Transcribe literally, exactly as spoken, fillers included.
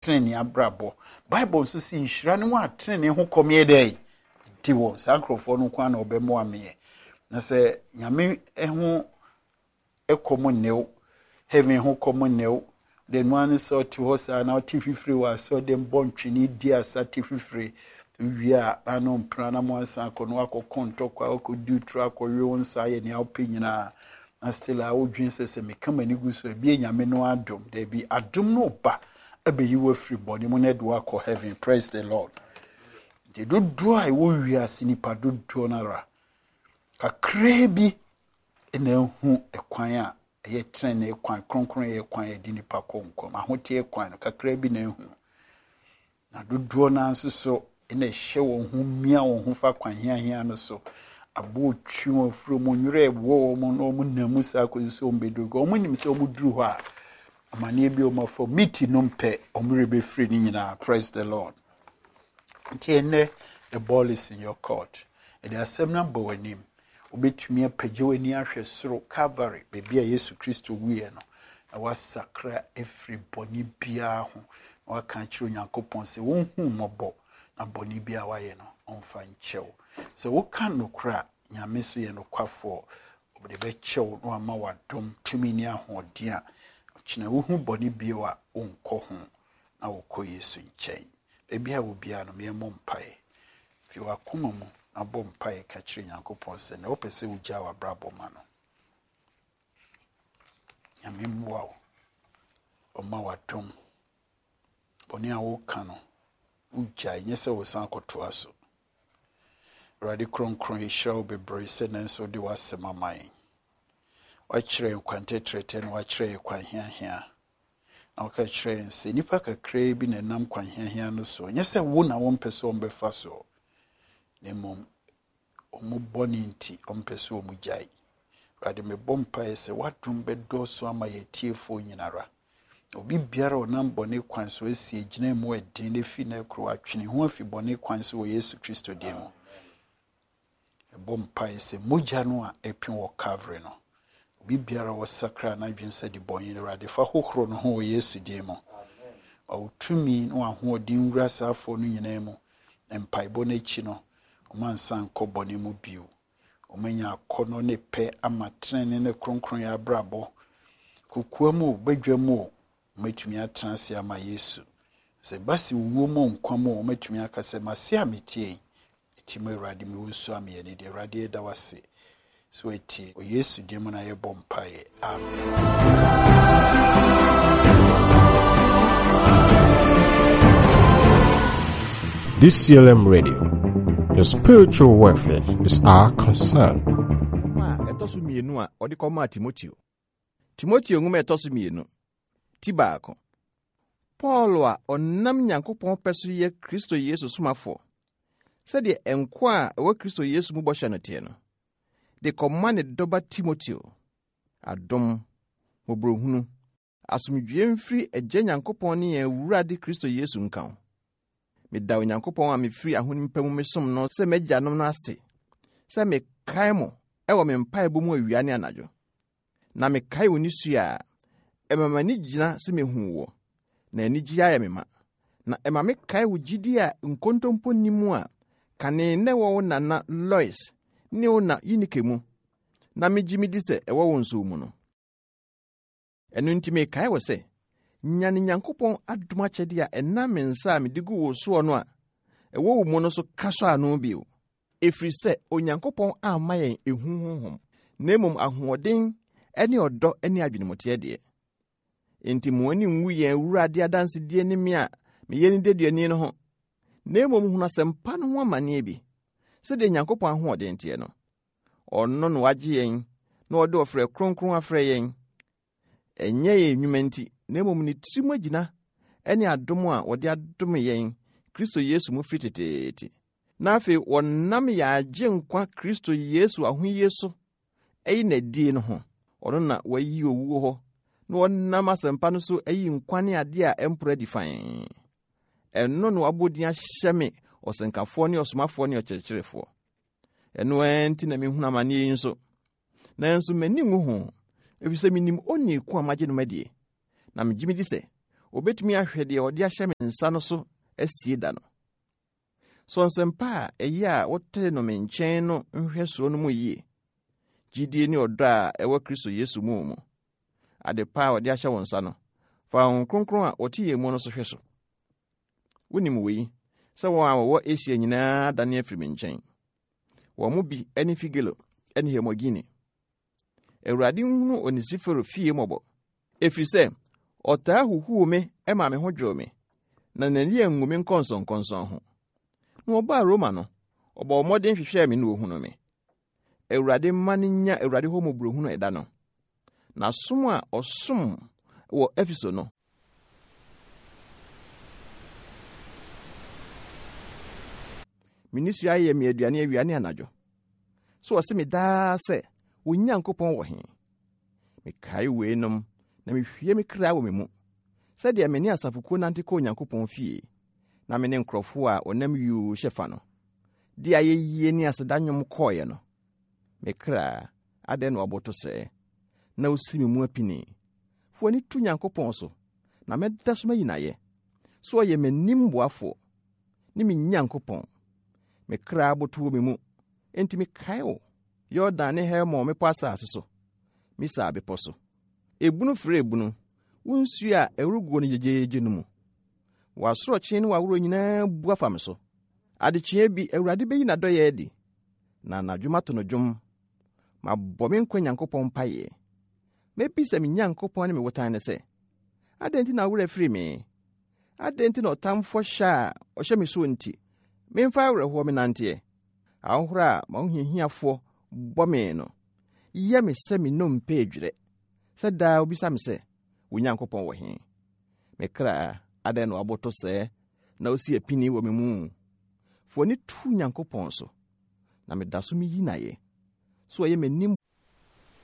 Tenenee abrabɔ. Bible nso si nhyira ne wɔn a tenenee ho kɔm yɛ dɛn? Di wɔn. Saa nkurɔfoɔ no nko ara na wɔbɛmoa meɛ. Na sɛ Nyame ho kɔm nne wo, heaven ho kɔm nne wo, de no ara ne sɛ ɔte hɔ saa na ɔte fifire wɔ asɔre bɔ ntwene di asa te fifire wie a na no mpena na mo asan akɔ no akɔkɔ ntɔkwa akɔdi turo akɔwe wo nsa ayɛ nea wopɛ nyinaa na still a wodwen sɛ sɛ meka m'ani gu so ebi Nyame no adom. Daabi, adom no ba abɛyi wo afiri bɔne mu na ɛde wo akɔ heaven. Praise the Lord. Nti dodoɔ a ɛwɔ wiase, nipa dodoɔ no ara kakraa bi na ehu ɛkwan a ɛyɛ tenenee kwan, kronkron yɛ kwan a yɛde nipa kɔ nkɔm, ahoteɛ kwan no kakraa bi na ehu, na dodoɔ no nso so na ɛhyɛ wɔn ho mia wɔn ho fa kwan hiahia no so. Aboɔ twi wɔn afuro mu, nwerɛ ɛwɔ wɔn na wɔn nam mu saa kɔsi sɛ wɔn bɛduru hɔ. Wɔn nim sɛ wɔn duru hɔ a, amanneɛ bi a wɔn afa miti no mpɛ, wɔn werɛ bɛfiri ne nyinaa. Praise the Lord. Nti ɛnnɛ, the ball is in your court. Ɛde asɛm no abɔ w'anim. Wobɛtumi apagya w'ani ahwɛ soro, Calvary, baabi a Yesu Kristo wuiɛ no, na wasakra afiri bɔne biara ho na waka akyerɛ Onyankopɔn sɛ wɔnhu mmɔbɔ na bɔne biara wayɛ no ɔmfa nkyɛw. Sɛ woka nokorɛ a, Nyame so yɛ nokwafoɔ, ɔde bɛkyɛw na wama w'adom tumi ne ahoɔden a ɔkyena wohu bɔne bio a wonkɔ ho na wokɔ Yesu nkyɛn. Baabi a wo biara no, yɛmmɔ mpaeɛ. Fi w'akoma mu na bɔ mpaeɛ ka kyerɛ Nyankopɔn sɛ na wopɛ sɛ wogyaa w'abrabɔ ma no. Nyame mmoa wo, ɔma w'adom. Bɔne a woka no, wogyae, nyɛ sɛ wosan akɔtoa so. Awurade kronkron, yɛhyira wo bebree sɛ nanso wode w'asɛm ama yɛn. Wakyerɛ yɛn kwan tɛtrɛtɛ na wakyerɛ yɛn kwan hiahia. Na woka kyerɛ yɛn sɛ nnipa kakraa bi na ɛnam kwan hiahia no so. Nyɛ sɛ wo na wompɛ sɛ wɔmbɛfa so, na mmom ɔmo bɔne nti ɔmpɛ sɛ ɔmo gyae. Awurade, mebɔ mpaeɛ sɛ w'adom bɛdɔɔso ama yɛn atiefoɔ nyinara. Obi biara a ɔnam bɔne kwan so asi agyina mu ɛden na efi na ɛkoro atwene ho afi bɔne kwan so wɔ Yesu Kristo din mu. Ɛbɔ mpaeɛ sɛ mogya no a ɛpem wɔ Calvary no, obi biara a wɔsakra n'adwene sɛ de bɔne no, Awurade, fa hohoro no ho wɔ Yesu din mu. Ma wo tumi ne w'ahoɔden nwura saa afoɔ no nyinaa mu. Na mpaebɔ no akyi no, ɔma nsa nkɔ bɔne mu bio. Ɔmanya akɔnnɔ ne pɛ ama tenene ne kronkron yɛ abrabɔ. Kokoa mu o, badwa mu o, wɔmatumi atena ase ama Yesu. Sɛ ba sɛ owuo mu nkwa mu o, wɔmatumi aka sɛ mase a metie yi, meti mu Awurade, mewo nsu ameyɛ ne deɛ. Awurade, yɛda wo ase so atie. Wɔ Yesu din mu na yɛbɔ mpaeɛ. Amen. D C L M Radio, your spiritual welfare is our concern. Nwoma a ɛtɔ so mmienu a ɔde kɔmaa Timoteo. Timoteo nwoma a ɛtɔ so mmienu, ti baako. Paul a ɔnam Nyankopɔn pɛ so yɛ Kristo Yesu somafoɔ, sɛdeɛ nkwa a ɛwɔ Kristo Yesu mu bɔhyɛ no teɛ no, de kɔma ne dɔba Timoteo. Adom, mmɔborɔhunu, asomdwie mfiri Agya Nyankopɔn ne yɛn Awurade Kristo Yesu nka wo. Meda Onyankopɔn a mefiri ahonim pa mu mesom no sɛ m'agyanom no ase, sɛ mekae mo ɛwɔ me mpaebɔ mu awia ne anadwo. Na mekae wo nisua a, ɛma m'ani gyina sɛ mehu wo, na anigye ayɛ me ma. Na ɛma mekae wo gyidi a nkontompo nni mu a kane na ɛwɔ wo nana Lois ne wo na Eunike mu, na megye midi sɛ ɛwɔ wo nso mu no. Ɛno nti mekae wo sɛ, nyane Nyankopɔn adom akyɛdeɛ a ɛnam me nsa a mede gu wo soɔ no a ɛwɔ wo mu no so ka sɔ ano bio. Ɛfiri sɛ Onyankopɔn amma yɛn ehu honhom, na mmom ahoɔden ne ɔdɔ ne adwenemuteɛ deɛ. Enti mo ani nwu yɛn Awurade adansedie ne me a meyɛ ne deduani no ho, na mmom hunu asɛmpa no ho amanneɛ bi, sɛdeɛ Nyankopɔn ahoɔden teɛ no. Ɔno na wagye yɛn na ɔde ɔfrɛ kronkron afrɛ yɛn. Ɛnyɛ yɛn nnwuma nti, na mmom ne tirim agyina ne adom a wɔde adom yɛn Kristo Yesu mu firi teteete. Na afei wɔnam yɛn agye nkwa Kristo Yesu ahoyie so ɛyi n'adie no ho. Ɔno na wayi owuo hɔ na wɔnam asɛmpa no so ayi nkwa ne adeɛ a ɛmporo adi fann. Ɛno na wabɔ din ahyɛ me ɔsɛnkafoɔ ne ɔsomafoɔ ne ɔkyerɛkyerɛfoɔ. Ɛno ara nti na mehunu amanneɛ yi nso. Nanso m'ani nwu ho, ɛfiri sɛ minim onii ko a magye no madie, na megye medi sɛ Obetumi ahwɛ deɛ ɔde ahyɛ me nsa no so asie da no. Sɔ nsɛmpa a ɛyɛ a wotee no me nkyɛn no nhwɛsoɔ no mu yie. Gyidie ne ɔdɔ a ɛwɔ Kristo Yesu mu mu. Ade pa a ɔde ahyɛ wo nsa no, fa Honhom Kronkron a ɔte yɛn mu no so hwɛ so. Wonim wei, sɛ wɔn a wɔwɔ Asia nyinaa adane afiri me nkyɛn. Wɔn mu bi ne Figelo ne Hermogene. Awurade nhunu Onesiforo fie mmɔbɔ, ɛfiri sɛ ɔtaa huhuu me ma me ho dwoo me, na n'ani angu me nkɔnsɔnkɔnsɔn ho. Na ɔbaa Roma no, ɔbɔɔ mmɔden hwehwɛɛ me na ohunuu me. Awurade mma no nya Awurade hɔ mmɔborɔhunu ɛda no. Na som a ɔsom wɔ Efeso no, me nisua ayɛ me aduane awia ne anadwo. So ɔse me daa sɛ, wo Nyankopɔn wɔ he? Mekae weinom na mehwie me kra wɔ me mu, sɛdeɛ me ne asafokuo nante kɔ Onyankopɔn fie, na me ne nkurɔfoɔ a ɔnam yuu hyɛ fa no, de ayɛyie ne aseda nnwom kɔɔeɛ no. Me kra, adɛn na waboto sɛɛ, na wosi me mu apini? Fa w'ani to Nyankopɔn so, na mɛda so mayi n'ayɛ. So ɔyɛ m'anim boafoɔ ne me Nyankopɔn. Me kra aboto wɔ me mu, enti mekae wo, Yordan ne Hermon mmepɔ asase so, Misar bepɔ so. Ebunu frɛ ebunu, wo nsuo a ɛreguo no gyegyeegye no mu. W'asorɔkye ne w'aworɔ nyinaa bu afa me so. Adekyeɛ bi Awurade bɛyi n'adɔeɛ adi, na anadwo mato no dwom. Mabɔ me nkwa Nyankopɔn mpaeɛ. Mɛbisa me Nyankopɔn ne me botan no sɛ, adɛn nti na wo werɛ afiri me? Adɛn nti na ɔtamfoɔ hyɛ a ɔhyɛ me soɔ nti, memfa awerɛhoɔ menanteɛ? Ahohora a m'ahohiahiafoɔ bɔ me no, yɛ me sɛ me nnompe adwerɛ, sɛ daa obisa me sɛ, wo Nyankopɔn wɔ he? Me kra, adɛn na waboto sɛɛ, na osi apini wɔ me mu? Fa w'ani to Nyankopɔn so, na meda so miyi n'ayɛ. So ɔyɛ m'anim